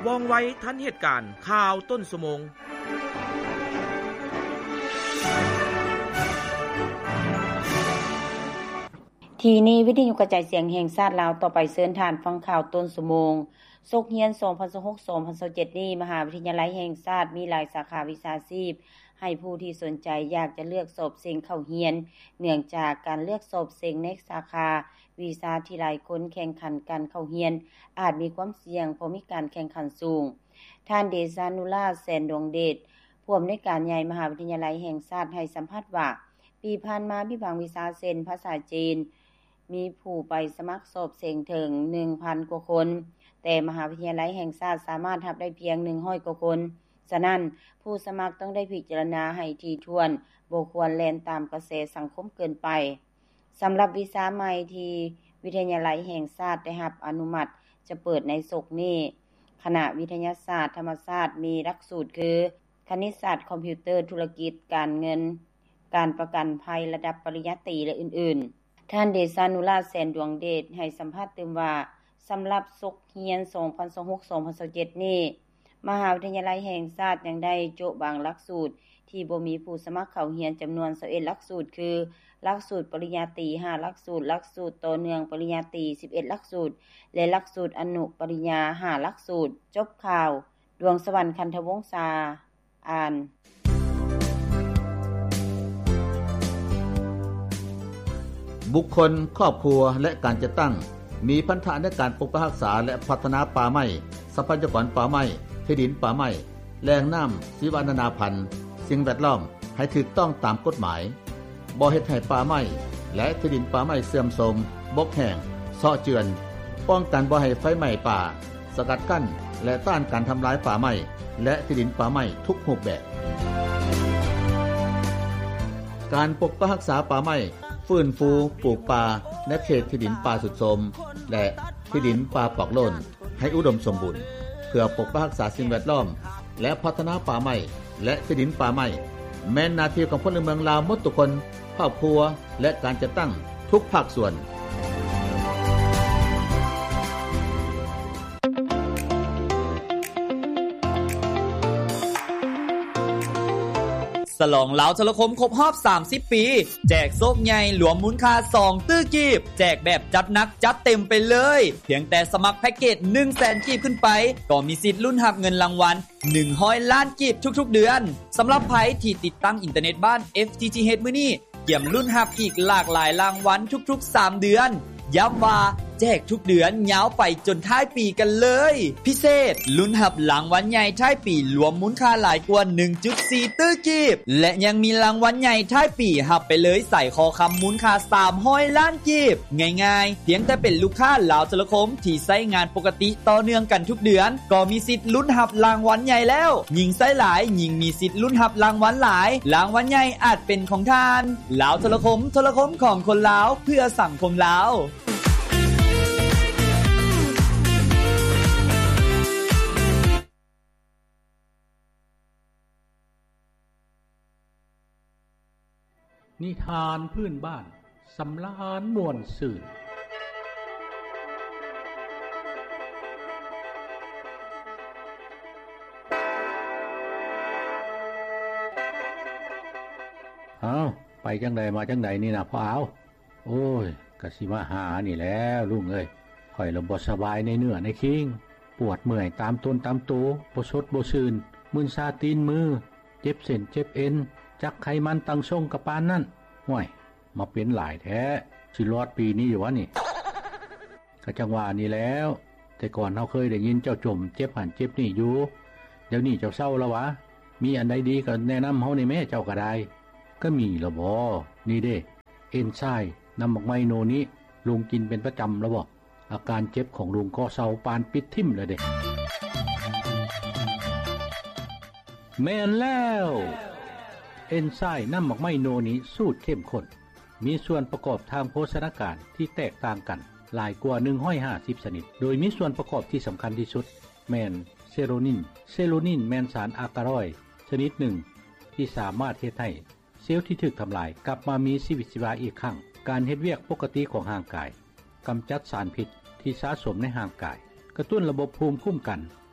ວ່ອງໄວທັນເຫດການ, ຂ່າວຕົ້ນຊົ່ວໂມງ. ທີ່ນີ້ ວິທະຍຸກະຈາຍສຽງແຫ່ງຊາດລາວ, ຕໍ່ໄປເຊີນທ່ານຟັງຂ່າວຕົ້ນຊົ່ວໂມງ. ສົກຮຽນສອງພັນຊາວຫົກ ສອງພັນຊາວເຈັດນີ້ ມະຫາວິທະຍາໄລແຫ່ງຊາດມີຫຼາຍສາຂາວິຊາຊີບ ໃຫ້ຜູ້ທີ່ສົນໃຈຢາກຈະເລືອກສອບເສັງເຂົ້າຮຽນ, ເນື່ອງຈາກການເລືອກສອບເສັງໃນສາຂາວິຊາທີ່ຫຼາຍຄົນແຂ່ງຂັນກັນເຂົ້າຮຽນ ອາດມີຄວາມສ່ຽງເພາະມີການແຂ່ງຂັນສູງ. ທ່ານ ເດຊານຸລາດ ແສນດວງເດດ, ຜູ້ອຳນວຍການໃຫຍ່ມະຫາວິທະຍາໄລແຫ່ງຊາດ ໃຫ້ສຳພາດວ່າ, ປີຜ່ານມາມີບາງວິຊາເຊັ່ນ ພາສາຈີນ ມີຜູ້ໄປສະໝັກສອບເສັງເຖິງໜຶ່ງພັນກວ່າຄົນ, ແຕ່ມະຫາວິທະຍາໄລແຫ່ງຊາດສາມາດຮັບໄດ້ພຽງໜຶ່ງຮ້ອຍກວ່າຄົນ. ສະນັ້ນ, ຜູ້ສະໝັກຕ້ອງໄດ້ພິຈາລະນາໃຫ້ຖີ່ຖ້ວນ, ບໍ່ຄວນແລ່ນຕາມກະແສສັງຄົມເກີນໄປ. ສຳລັບວິຊາໃໝ່ທີ່ວິທະຍາໄລແຫ່ງຊາດໄດ້ຮັບອະນຸມັດຈະເປີດໃນສົກນີ້, ຄະນະວິທະຍາສາດທຳມະຊາດ ມີຫຼັກສູດຄື ຄະນິດສາດ, ຄອມພິວເຕີ, ທຸລະກິດ, ການເງິນ, ການປະກັນໄພລະດັບປະລິນຍາຕີ ແລະ ອື່ນໆ. ທ່ານ ເດຊານຸລາດ ແສນດວງເດດ ໃຫ້ສຳພາດຕື່ມວ່າ, ສຳລັບສົກຮຽນສອງພັນຊາວຫົກ ສອງພັນຊາວເຈັດນີ້, ມະຫາວິທະຍາໄລແຫ່ງຊາດຍັງໄດ້ໂຈະບາງຫຼັກສູດທີ່ບໍ່ມີຜູ້ສະໝັກເຂົ້າຮຽນຈຳນວນຊາວເອັດຫຼັກສູດ ຄື ຫຼັກສູດປະລິນຍາຕີຫ້າຫຼັກສູດ, ຫຼັກສູດຕໍ່ເນື່ອງປະລິນຍາຕີສິບເອັດຫຼັກສູດ ແລະ ຫຼັກສູດອະນຸປະລິນຍາຫ້າຫຼັກສູດ. ຈົບຂ່າວ. ດວງສະຫວັນ ຄັນທະວົງສາ ອ່ານ. ບຸກຄົນ, ຄອບຄົວ ແລະ ການຈັດຕັ້ງ ມີພັນທະໃນການປົກປັກຮັກສາ ແລະ ພັດທະນາປ່າໄມ້, ຊັບພະຍາກອນປ່າໄມ້, ທີ່ດິນປ່າໄມ້, ແຫຼ່ງນ້ຳ, ຊີວະນານາພັນ, ສິ່ງແວດລ້ອມ ໃຫ້ຖືກຕ້ອງຕາມກົດໝາຍ, ບໍ່ເຮັດໃຫ້ປ່າໄມ້ ແລະ ທີ່ດິນປ່າໄມ້ເສື່ອມໂຊມ, ບົກແຫ້ງ, ເຊາະເຈື່ອນ, ປ້ອງກັນບໍ່ໃຫ້ໄຟໄໝ້ປ່າ, ສະກັດກັ້ນ ແລະ ຕ້ານການທຳລາຍປ່າໄມ້ ແລະ ທີ່ດິນປ່າໄມ້ທຸກຮູບແບບ. ການປົກປັກຮັກສາປ່າໄມ້, ຟື້ນຟູປູກປ່າໃນເຂດທີ່ດິນປ່າຊຸດໂຊມ ແລະ ທີ່ດິນປ່າປອກໂລ້ນໃຫ້ອຸດົມສົມບູນ ເພື່ອປົກປັກຮັກສາສິ່ງແວດລ້ອມ ແລະ ພັດທະນາປ່າໄມ້ ແລະ ທີ່ດິນປ່າໄມ້ ແມ່ນໜ້າທີ່ຂອງພົນລະເມືອງລາວໝົດທຸກຄົນ, ຄອບຄົວ ແລະ ການຈັດຕັ້ງທຸກພາກສ່ວນ. ສະຫຼອງລາວໂທລະຄົມຄົບຮອບສາມສິບປີ ແຈກໂຊກໃຫຍ່ລວມມູນຄ່າສອງຕື້ກີບ, ແຈກແບບຈັດໜັກຈັດເຕັມໄປເລີຍ. ພຽງແຕ່ສະໝັກແພັກເກດໜຶ່ງແສນກີບຂຶ້ນໄປ ກໍມີສິດລຸ້ນຮັບເງິນລາງວັນ ໜຶ່ງຮ້ອຍລ້ານກີບທຸກໆເດືອນ. ສຳລັບໃຜທີ່ຕິດຕັ້ງອິນເຕີເນັດບ້ານ ເອັຟທີທີເອັດ ມື້ນີ້ ກຽມລຸ້ນຮັບອີກຫຼາກຫຼາຍລາງວັນທຸກໆສາມເດືອນ. ຢ້ຳວ່າແຈກທຸກເດືອນຍາວໄປຈົນທ້າຍປີກັນເລີຍ. ພິເສດ, ລຸ້ນຮັບລາງວັນໃຫຍ່ທ້າຍປີລວມມູນຄ່າຫຼາຍກວ່າໜຶ່ງຈຸດສີ່ຕື້ກີບ ແລະ ຍັງມີລາງວັນໃຫຍ່ທ້າຍປີຮັບໄປເລີຍສາຍຄໍຄຳມູນຄ່າສາມຮ້ອຍລ້ານກີບ. ງ່າຍໆ, ພຽງແຕ່ເປັນລູກຄ້າລາວໂທລະຄົມທີ່ໃຊ້ງານປົກກະຕິ ຕໍ່ເນື່ອງກັນທຸກເດືອນ ກໍມີສິດລຸ້ນຮັບລາງວັນໃຫຍ່ແລ້ວ. ຍິ່ງໃຊ້ຫຼາຍ, ຍິ່ງມີສິດລຸ້ນຮັບລາງວັນຫຼາຍ. ລາງວັນໃຫຍ່ອາດເປັນຂອງທ່ານ. ລາວໂທລະຄົມ, ໂທລະຄົມຂອງຄົນລາວ, ເພື່ອສັງຄົມລາວ. ນິທານພື້ນບ້ານ ສຳລານມ່ວນຊື່ນ. ເອົ້າ, ໄປຈັ່ງໃດມາຈັ່ງໃດນີ້ນະພໍ່ອາວ? ໂອ້ຍ, ກະຊິມາຫານີ້ແຫຼະລຸງເອີຍ. ຂ້ອຍລະບໍ່ສະບາຍໃນເນື້ອໃນຄີງ, ປວດເມື່ອຍຕາມຕົນຕາມໂຕ, ບໍ່ສົດບໍ່ຊື່ນ, ມຶນຊາຕີນມື, ເຈັບເສັ້ນເຈັບເອັນ, ຈັກໄຂມັນຕັ້ງຊົງກະປານນັ້ນ. ຫ້ວຍ, ມາເປັນຫຼາຍແທ້, ຊິລອດປີນີ້ຢູ່ຫວານີ້? ກະຈັ່ງວ່ານີ້ແຫຼະ, ແຕ່ກ່ອນເຮົາເຄີຍໄດ້ຍິນເຈົ້າຈົ່ມເຈັບຫັ້ນເຈັບນີ້ຢູ່, ດຽວນີ້ເຈົ້າເຊົາລະຫວາ? ມີອັນໃດດີກະແນະນຳເຮົາແດ່ແມ້, ເຈົ້າກະໄດ້. ກະມີລະບໍ? ນີ້ເດ້, ເອັນຊາຍນ້ຳໝາກໄມ້ໂນນິ, ລຸງກິນເປັນປະຈຳລະບໍ? ອາການເຈັບຂອງລຸງກໍເຊົາປານປິດຖິ້ມແລ້ວເດ້. ແມ່ນແລ້ວ! ເອັນຊາຍນ້ຳໝາກໄມ້ໂນນິສູດເຂັ້ມຂຸ້ນ ມີສ່ວນປະກອບທາງໂພຊະນາການທີ່ແຕກຕ່າງກັນຫຼາຍກວ່າໜຶ່ງຮ້ອຍຫ້າສິບຊະນິດ, ໂດຍມີສ່ວນປະກອບທີ່ສຳຄັນທີ່ສຸດແມ່ນເຊໂຣນິນ. ເຊໂຣນິນແມ່ນສານອາກາຣອຍຊະນິດໜຶ່ງທີ່ສາມາດເຮັດໃຫ້ ເຊວທີ່ຖືກທຳລາຍກັບມາມີຊີວິດຊີວາອີກຄັ້ງ, ການເຮັດວຽກປົກກະຕິຂອງຮ່າງກາຍ, ກຳຈັດສານພິດທີ່ສະສົມໃນຮ່າງກາຍ, ກະຕຸ້ນລະບົບພູມຄຸ້ມກັນ,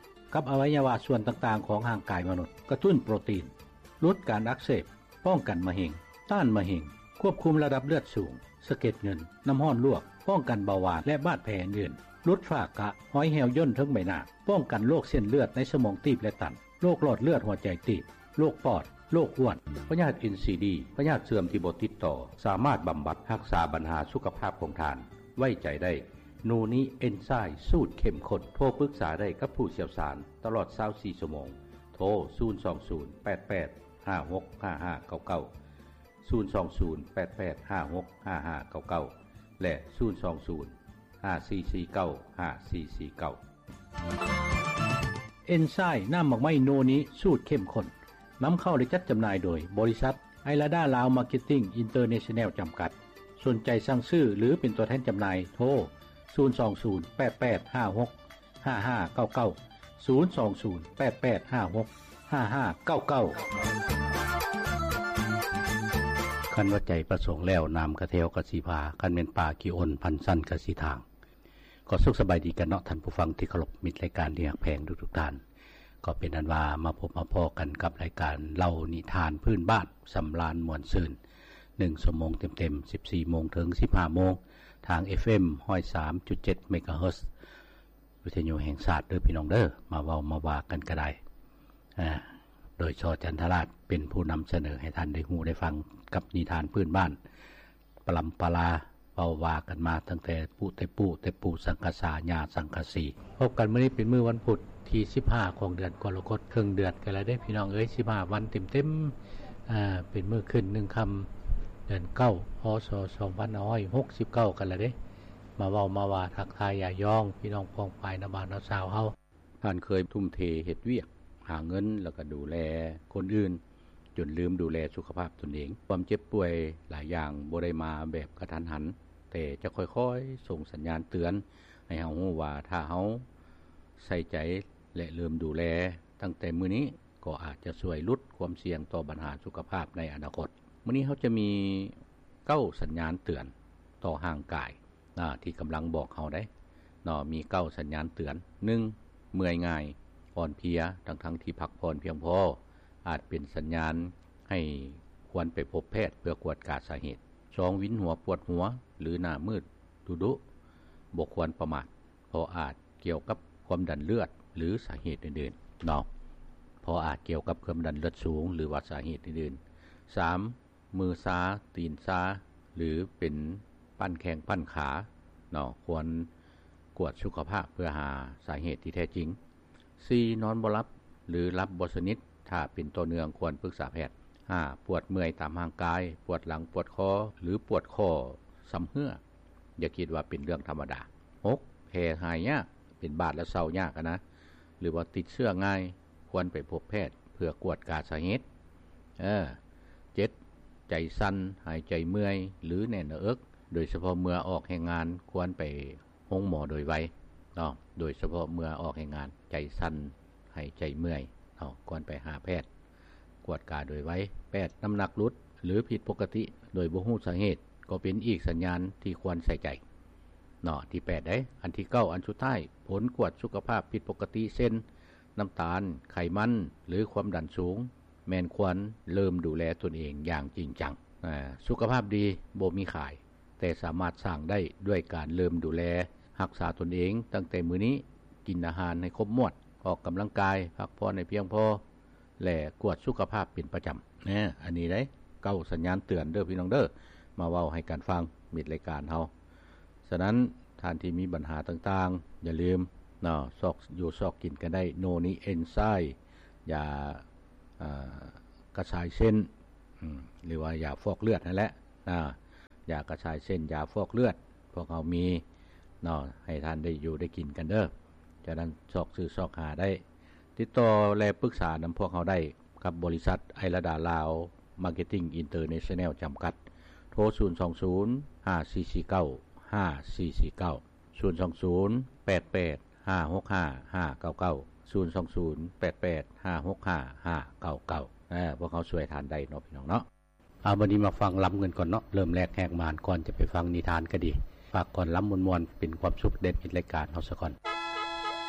ກັບອະໄວຍະວະສ່ວນຕ່າງໆຂອງຮ່າງກາຍມະນຸດ, ກະຕຸ້ນໂປຣຕີນ, ຫຼຸດການອັກເສບ, ປ້ອງກັນມະເຮັງ, ຕ້ານມະເຮັງ, ຄວບຄຸມລະດັບເລືອດສູງ, ສະເກັດເງິນ, ນ້ຳຮ້ອນລວກ, ປ້ອງກັນເບົາຫວານ ແລະ ບາດແຜອື່ນໆ, ຫຼຸດຝ້າກະ, ຮອຍແຫ້ວຍ່ນເທິງໃບໜ້າ, ປ້ອງກັນໂລກເສັ້ນເລືອດໃນສະໝອງຕີບ ແລະ ຕັນ, ໂລກຫຼອດເລືອດຫົວໃຈຕີບ, ໂລກປອດ, ໂລກອ້ວນ, ພະຍາດເອັນຊີດີ, ພະຍາດເສື່ອມທີ່ບໍ່ຕິດຕໍ່, ສາມາດບຳບັດຮັກສາບັນຫາສຸຂະພາບຂອງທ່ານ. ໄວ້ໃຈໄດ້ ໂນນິເອັນໄຊລ໌ສູດເຂັ້ມຂຸ້ນ. ໂທປຶກສາໄດ້ກັບຜູ້ຊ່ຽວຊານຕະຫຼອດຊາວສີ່ຊົ່ວໂມງ. ໂທ ສູນສອງສູນ ແປດແປດ ຫ້າຫົກ ຫ້າຫ້າເກົ້າເກົ້າ, ສູນສອງສູນ ແປດແປດ ຫ້າຫົກ ຫ້າຫ້າເກົ້າເກົ້າ ແລະ ສູນສອງສູນ ຫ້າສີ່ສີ່ເກົ້າ ຫ້າສີ່ສີ່ເກົ້າ. ເອັນໄຊລ໌ນ້ຳໝາກໄມ້ໂນນິສູດເຂັ້ມຂຸ້ນ ນຳເຂົ້າ ແລະ ຈັດຈຳໜ່າຍໂດຍບໍລິສັດ ໄອລາດາລາວມາເກັດຕິ້ງອິນເຕີເນຊັນແນວຈຳກັດ. ສົນໃຈສັ່ງຊື້ ຫຼື ເປັນຕົວແທນຈຳໜ່າຍ ໂທ ສູນສອງສູນ ແປດແປດ ຫ້າຫົກ ຫ້າຫ້າເກົ້າເກົ້າ, ສູນສອງສູນ ແປດແປດ ຫ້າຫົກ ຫ້າຫ້າເກົ້າເກົ້າ. ຄັນວ່າໃຈປະສົງແລ້ວ ນ້ຳກະແທວກະຊິພາ, ຄັນແມ່ນປາຂີ້ອົນພັນຊັ້ນກະຊິທາງ. ກໍສຸກສະບາຍດີກັນເນາະ ທ່ານຜູ້ຟັງທີ່ເຄົາລົບ, ມິດລາຍການທີ່ຮັກແພງທຸກໆທ່ານ. ກໍເປັນອັນວ່າມາພົບມາພໍ້ກັນກັບລາຍການເລົ່ານິທານພື້ນບ້ານ ສຳລານມ່ວນຊື່ນ ໜຶ່ງຊົ່ວໂມງເຕັມໆ ສິບສີ່ໂມງເຖິງສິບຫ້າໂມງ ທາງ ເອັຟເອັມ ຮ້ອຍສາມຈຸດເຈັດ ເມກາເຮີດ ວິທະຍຸແຫ່ງຊາດເດີພີ່ນ້ອງເດີ. ມາເວົ້າມາວ່າກັນກໍໄດ້ ອາ ໂດຍ ຊ ຈັນທະລາດ ເປັນຜູ້ນຳສະເໜີໃຫ້ທ່ານໄດ້ຮູ້ໄດ້ຟັງກັບນິທານພື້ນບ້ານ ປະລຳປະລາ ເວົ້າວ່າກັນມາຕັ້ງແຕ່ປູ່ແຕ່ປູ່ ແຕ່ປູ່ສັງກະສາ ຍ່າສັງກະສີ. ພົບກັນມື້ນີ້ເປັນມື້ວັນພຸດທີສິບຫ້າຂອງເດືອນກໍລະກົດ, ເຄິ່ງເດືອນກັນແລ້ວເດ້ພີ່ນ້ອງເອີຍ, ສິບຫ້າວັນເຕັມໆ ອາ ເປັນມື້ຂຶ້ນໜຶ່ງຄ່ຳເດືອນເກົ້າ ພ.ສ. ສອງພັນຫ້າຮ້ອຍຫົກສິບເກົ້າກັນແລ້ວເດ້. ມາເວົ້າມາວ່າທັກທາຍຢາຢອງພີ່ນ້ອງປ້ອງປາຍນະບ່າວນະສາວເຮົາ. ທ່ານເຄີຍທຸ່ມເທເຮັດວຽກ ຫາເງິນ ແລ້ວກໍດູແລຄົນອື່ນ ຈົນລືມດູແລສຸຂະພາບຕົນເອງ. ຄວາມເຈັບປ່ວຍຫຼາຍຢ່າງບໍ່ໄດ້ມາແບບກະທັນຫັນ, ແຕ່ຈະຄ່ອຍໆສົ່ງສັນຍານເຕືອນໃຫ້ເຮົາຮູ້ວ່າ ຖ້າເຮົາໃສ່ໃຈ ແລະ ເລີ່ມດູແລຕັ້ງແຕ່ມື້ນີ້ ກໍອາດຈະຊ່ວຍຫຼຸດຄວາມສ່ຽງຕໍ່ບັນຫາສຸຂະພາບໃນອະນາຄົດ. ມື້ນີ້ເຮົາຈະມີເກົ້າສັນຍານເຕືອນຕໍ່ຮ່າງກາຍ ອາ ທີ່ກຳລັງບອກເຮົາໄດ໋ເນາະ, ມີເກົ້າສັນຍານເຕືອນ. ໜຶ່ງ ເມື່ອຍງ່າຍ, ອ່ອນເພຍ ທັງໆທີ່ພັກຜ່ອນພຽງພໍ ອາດເປັນສັນຍານໃຫ້ຄວນໄປພົບແພດເພື່ອກວດກາສາເຫດ. ສອງ ວິນຫົວປວດຫົວ ຫຼື ໜ້າມືດດຸດຸ ບໍ່ຄວນປະໝາດ ເພາະອາດກ່ຽວກັບຄວາມດັນເລືອດ ຫຼື ສາເຫດອື່ນໆເນາະ, ເພາະອາດກ່ຽວກັບຄວາມດັນເລືອດສູງ ຫຼືວ່າສາເຫດອື່ນໆ. ສາມ ມືຊາ ຕີນຊາ ຫຼື ເປັນປັ້ນແຂ້ງປັ້ນຂາເນາະ, ຄວນກວດສຸຂະພາບເພື່ອຫາສາເຫດທີ່ແທ້ຈິງ. ສີ່ ນອນບໍ່ຫຼັບ ຫຼື ຫຼັບບໍ່ສະໜິດ, ຖ້າເປັນຕໍ່ເນື່ອງຄວນປຶກສາແພດ. ຫ້າ ປວດເມື່ອຍຕາມຮ່າງກາຍ, ປວດຫຼັງ, ປວດຄໍ ຫຼື ປວດຂໍ້ຊຳເຮື້ອ, ຢ່າຄິດວ່າເປັນເລື່ອງທຳມະດາ. ຫົກ ແຜ່ຫາຍຍາກ, ເປັນບາດແລ້ວເຊົາຍາກນະ ຫຼືວ່າຕິດເຊື້ອງ່າຍ, ຄວນໄປພົບແພດເພື່ອກວດກາສາເຫດ. ເອີ ເຈັດ ໃຈສັ່ນ, ຫາຍໃຈເມື່ອຍ ຫຼື ແໜ້ນໜ້າເອິກ, ໂດຍສະເພາະເມື່ອອອກແຮງງານ ຄວນໄປໂຮງໝໍໂດຍໄວເນາະ, ໂດຍສະເພາະເມື່ອອອກແຮງງານ ໃຈສັ່ນ, ຫາຍໃຈເມື່ອຍເນາະ, ຄວນໄປຫາແພດກວດກາໂດຍໄວ. ແປດ ນ້ຳໜັກຫຼຸດ ຫຼື ຜິດປົກກະຕິໂດຍບໍ່ຮູ້ສາເຫດ ກໍເປັນອີກສັນຍານທີ່ຄວນໃສ່ໃຈເນາະ, ທີແປດເດ້. ອັນທີເກົ້າ ອັນສຸດທ້າຍ ຜົນກວດສຸຂະພາບຜິດປົກກະຕິ ເຊັ່ນ ນ້ຳຕານ, ໄຂມັນ ຫຼື ຄວາມດັນສູງ ແມ່ນຄວນເລີ່ມດູແລຕົນເອງຢ່າງຈິງຈັງ. ອາ ສຸຂະພາບດີບໍ່ມີຂາຍ, ແຕ່ສາມາດສ້າງໄດ້ດ້ວຍການເລີ່ມດູແລຮັກສາຕົນເອງຕັ້ງແຕ່ມື້ນີ້, ກິນອາຫານໃຫ້ຄົບໝວດ, ອອກກຳລັງກາຍ, ພັກຜ່ອນໃຫ້ພຽງພໍ ແລະ ກວດສຸຂະພາບເປັນປະຈຳ. ແນ ອັນນີ້ເດ້ ເກົ້າສັນຍານເຕືອນເດີພີ່ນ້ອງເດີ, ມາເວົ້າໃຫ້ກັນຟັງ ມິດລາຍການເຮົາ. ສະນັ້ນ ທ່ານທີ່ມີບັນຫາຕ່າງໆ ຢ່າລືມເນາະ ຊອກຢູ່ຊອກກິນກັນໄດ້ ໂນນິເອັນໄຊ, ຢາ ອາ ກະຊາຍເສັ້ນ ອືມ ຫຼືວ່າຢາຟອກເລືອດຫັ້ນແຫຼະ ອາ ຢາກະຊາຍເສັ້ນ ຢາຟອກເລືອດ ພວກເຮົາມີເນາະ ໃຫ້ທ່ານໄດ້ຢູ່ໄດ້ກິນກັນເດີ. ຈາກນັ້ນຊອກຊື້ຊອກຫາໄດ້ ຕິດຕໍ່ ແລະ ປຶກສານຳພວກເຮົາໄດ້ກັບບໍລິສັດ ໄອລາດາລາວ ມາເກັດຕິ້ງ ອິນເຕີເນຊັນແນວ ຈຳກັດ. ໂທ ສູນສອງສູນ ຫ້າສີ່ສີ່ເກົ້າ ຫ້າສີ່ສີ່ເກົ້າ, ສູນສອງສູນ ແປດແປດ ຫ້າຫົກຫ້າ ຫ້າເກົ້າເກົ້າ, ສູນສອງສູນ ແປດແປດ ຫ້າຫົກຫ້າ ຫ້າເກົ້າເກົ້າ. ເອີ ພວກເຮົາຊ່ວຍທ່ານໄດ້ເນາະ ພີ່ນ້ອງເນາະ. ເອົາ ບັດນີ້ມາຟັງລຳກັນກ່ອນເນາະ, ເລີ່ມແລກແຫກມ່ານ ກ່ອນຈະໄປຟັງນິທານກໍດີ. ຝາກກ່ອນລຳມ່ວນໆ ເປັນຄວາມສຸກແດ່ມິດລາຍການເຮົາສາກ່ອນ.